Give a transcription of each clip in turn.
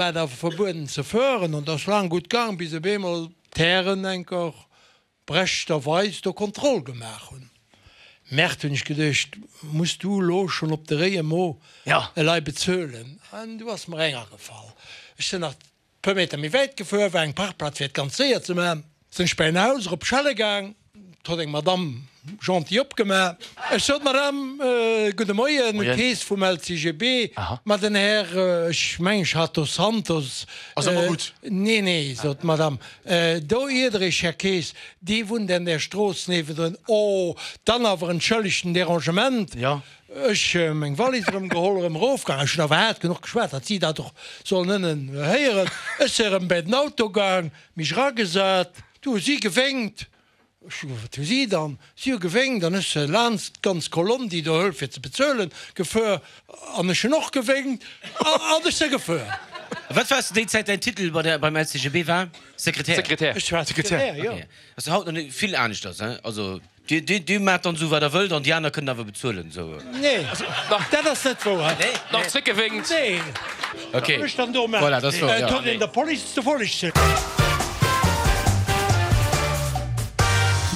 War et awer verbueden ze fueren an et ass laang gutt gaang, bis op eemol d'Hären enker brechterweis do Kontroll gemaach hunn. Merde, hunn ech geduecht, muss du elo schonn op de réie Mo elei bezuelen? An du ass mer eng agefall. Ech sinn nach puer Meter méi wäit gefuer, war eng Parkplaz fir et ganz séier ze maachen, sinn ech bei en Haus erop schelle gaang. 't huet eng Madamm gentil opgemaach. Ech sot, Madamm, gudde Moien, Kees vum LCGB. Ma den Här, ech mengen, ech hat Dos Santos. Ass ëmmer gutt. Nee, nee, sot d'Madamm, do iert Der Iech, Här Kees, dee wunnt an där Strooss niewendrun. Oh, dann awer entschëllegt den Dérangement. Ech meng Wallis erëm geholl, erëm erofgaang. Ech hunn awer haart genuch geschwat, datt si dat och sollen ënnen héieren. Ech si erëm bäi den Auto gaang, mech eragesat. Du hu si gewénkt. Ech hu Wat hu si dann? Si hu gewénkt an ech se laanst d'ganz Kolonn, déi do hëlleft fir ze bezuelen, gefuer. An ech hunn och gewénkt an ech se gefuer. Wat war zu déi Zäit däin Titel bei der, beim LCGB? War Sekretär? Sekretär. Ech war Sekretär, jo. Okay. Ass jo haut nach net vill aneschters, hein? Also. Dir, dir, dir maacht dann esou wat der wëllt an déi aner kënnen awer bezuelen, esou. Nee, dat ass net wouer. Nee? Nach zréckgewénkt. Nee. Ok. Wat ech dann do maachen? Voilà, dat ass wouer, jo. Et huet een der Police ze folleg.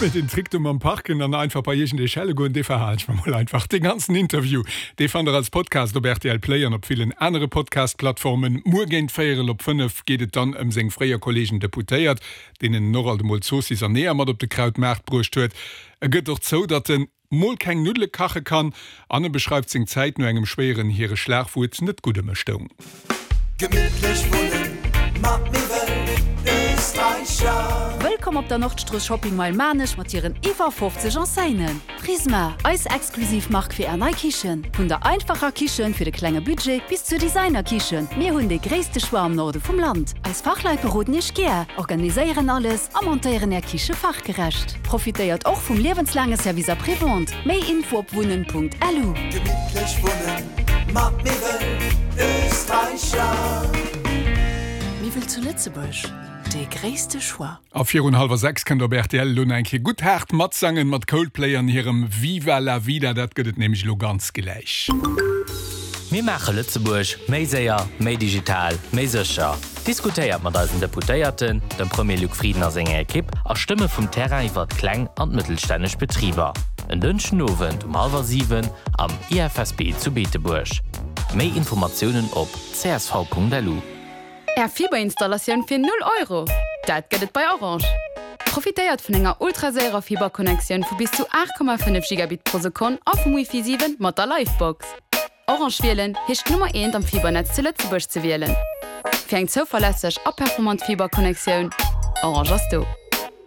Mee den Trick do mam Parken an einfach bei iergend ee schelle goen, dee verhalen ech mer mol einfach. Dee ganzen Interview, dee fannt der als Podcast op rtl Play an op villen anere Podcast-Plattformen. Muer géint véierel op 5 geet et dann ëm seng fréier Kollegen Deputéiert. deenen en och alt emol Zoossiss an Eeër mat op de Krautmaart bruecht huet. E gëtt och zou, datt en mol keng Nuddele kache kann an e beschreift seng Zäit no engem schwéieren Hiereschlag, wou et net gutt ëm e stoung. Gemittlech wunnen mat Miwwel Österreicher. Wëllkomm op der Nordstrooss Shopping Mile Maarnech mat hiren iwwer 50 Enseignen. Prisma, eis exklusiv Mark fir Är nei Kichen. Vun der einfacher Kichen fir de klenge Budget bis zur Designer-Kichen, mir hunn dee gréisste Choix am Norde vum Land. Eis Fachleit beroden Iech gär, organiséieren alles a montéieren Är Kiche fachgerecht. Profitéiert och vum liewenslaange Service Après-Vente. Méi Info op wunnen.lu. Gemittlech wunnen mat Miwwel Österreicher. Miwwel zu Lëtzebuerg, dee gréisste Choix. A virun hallwer 6 kënnt op rtl elo nach eng Kéier gutt haart matsangen mat Coldplay an hirem Viva la Vida. Dat gëtt et nämlech elo ganz gläich. Mir maache Lëtzebuerg méi séier, méi digital, méi sécher. Diskutéiert mat eisen Deputéierten, dem Premier Luc Frieden a senger Ekipp a Stëmme vum Terrain iwwert kleng an mëttelstänneg Betriber. En Dënschden Owend um hallwer 7 am IFSB zu Beetebuerg. Méi Informatiounen op csv.lu. Är Fiberinstallatioun fir 0 Euro? Dat gëtt et bei Orange! Profitéiert vun enger ultraséierer Fiberconnectioun vu bis zu 8,5 Gigabit pro Sekonn a vum Wifi 7 mat der Livebox. Orange wielen heescht d'Nummer eent am Fibernetz zu Lëtzebuerg ze wielen. Fir eng zouverlässeg a performant Fiberconnectioun, Orange ass do!